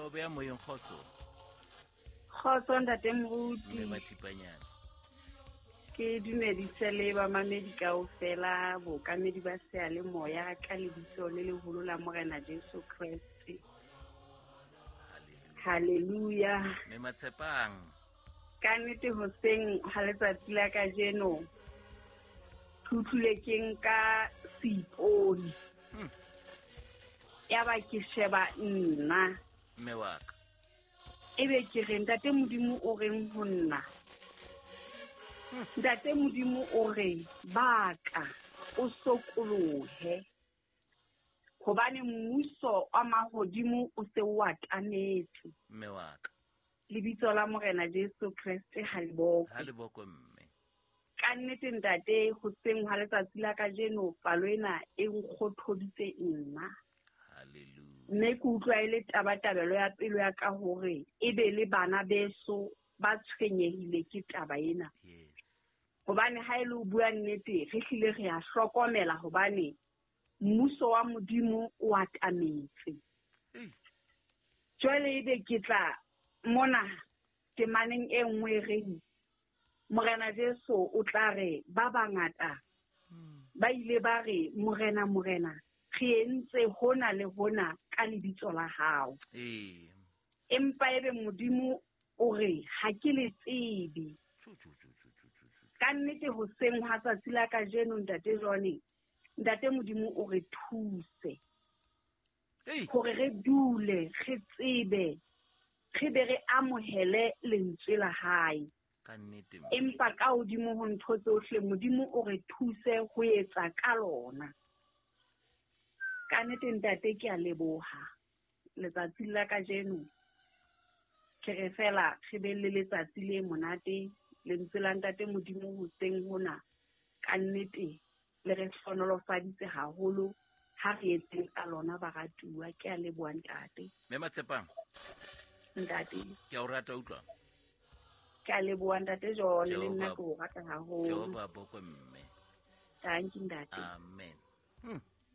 O beya moyeng, kgotso. Kgotso ntate Moruti. Mme Mathipanyana. Ke dumedise le bamamedi kaofela, bookamedi ba seyalemoya ka lebitso le leholo la Morena Jesu Kreste. Hallelujah. Mme Matshepang. Ka nnete hoseng ha letsatsi la kajeno ke utlwile ke nka seipone. Ya ba ke sheba nna. Mme wa ka. Ebe ke re ntate Modimo o reng ho nna? Ntate Modimo o re baka o sokolohe, hobane mmuso wa mahodimo o se o atametse. Mme wa ka. Lebitso la Morena Jesu Kreste ha le bokwe. Ha le bokwe mme. Ka nnete ntate, hoseng hwa letsatsi la kajeno palo ena e nkgothoditse nna. Hallelujah. Mme ke utlwa e le tabatabelo ya pelo ya ka hore e be le bana beso ba tshwenyehile ke taba ena. Yes. Hobane ha e le ho bua nnete, re hlile re a hlokomela hobane mmuso wa Modimo o atametse. Jwale ebe ke tla mona temaneng e nngwe e reng Morena Jesu o tla re ba bangata ba ile ba re Morena, Morena, re entse hona le hona ka lebitso la hao. Empa ebe Modimo o re ha ke le tsebe. Ka nnete hoseng hwa tsatsi la kajeno ntate Johnny, ntate Modimo o re thuse hore re dule re tsebe, re be re amohele lentswe la hae. Ka nnete. Empa ka hodimo ho ntho tsohle Modimo o re thuse ho etsa ka lona. Ka nnete ntate ke a leboha letsatsi la kajeno. Ke re fela re be le letsatsi le monate, lentswe la ntate Modimo hoseng hona ka nnete le re hlohonolofaditse haholo. Ha re etseng ka lona baratuwa. Ke a leboha ntate. Mme Matshepang. Ntate. Ke a o rata utlwa. Ke a leboha ntate John, le nna ke o rata haholo. Jehova bokwe mme. Thank you ntate. Amen.